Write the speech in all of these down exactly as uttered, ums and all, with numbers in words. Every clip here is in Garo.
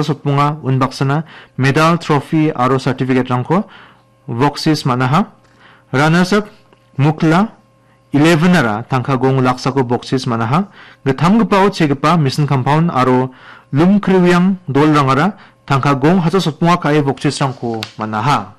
sotbonga unbaksana medal, trophy aro certificate-rangko boksis man·aha. Runners up Mukla eleven-ara tangka gong laksako boksis man·aha. Gittamgipao chegipa Mission Compound aro Lumkriwiang dolrangara tangka gong hacha sotbonga ka·e boksisrangko man·aha.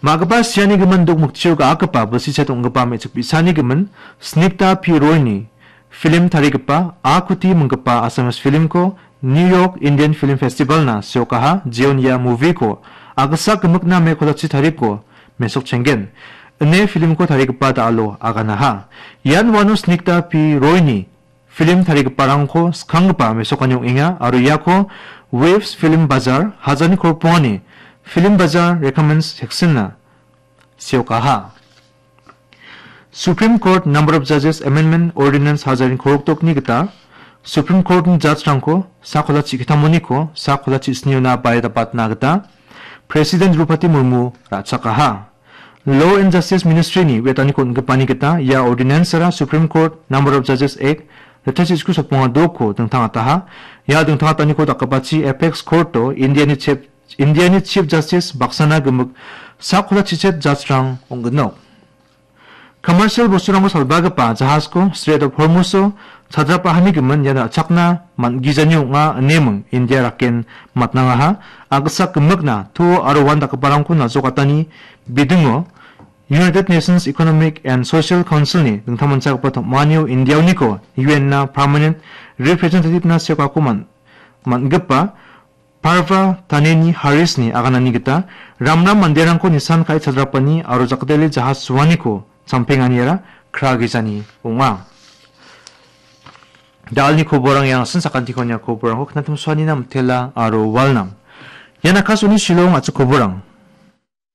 Ma·gipa siani gimin dok mikchio ga·akgipa bilsichet ong·gipa me·chik bi·sani gimin Snigdha P Roy-ni film tarigipa A Kuti minggipa Assamese film-ko New York Indian Film Festival-na seokaha, jeon ia movie-ko agisa gimikna me kolachi tariko mesokchenggen ine film-ko tarigipa da·alo aganaha. Ian uano Snigdha P Roy-ni film tarigiparangko skanggipa mesokani ong·enga aro iako Waves Film Bazaar, Hajarni Korokbongani Film Bazaar Recommends Section-na seokaha. Supreme Court Number of Judges Amendment Ordinance Hajarni Korokdokni gita Supreme Court-ni judge-rangko sakola chi·gittamoniko sakola chi·sniona baidapatna gita President Droupadi Murmu ra·chakaha. Law and Justice Ministry-ni wetaniko on·gipani gita ia ordinance-ara Supreme Court Number of Judges Act, ritchasisku sotbonga dokko dingtangataha. Ia dingtangataniko dakgipachi Apex Court-o Indiani Chief, Indiani Chief Justice baksana gimik sakola chichet judge-rang ong·ginok. Commercial bosturangko salbagipa jahasko Strait of Hormuz-o chadrapahani gimin ian ra·chakna man·gijani ong·a ineming India raken matnangaha. Agisa gimikna to aro uan dakgiparangko najokatani bidingo United Nations Economic and Social Council-ni dingtangmanchagipa tom·anio Indiaoniko U N-na permanent representative-na seokako man-, man·gipa Parva Taneni Harris-ni aganani gita ramram manderangko nisan ka·e chadrapani aro jakdele jahas suaniko champenganiara kragijani ong·a. Da·alni koborang ian ong·a, sakantikon ia koborangko knatim suanina mitela aro walnam. Ian Akashvani Shillong a·chik koborang.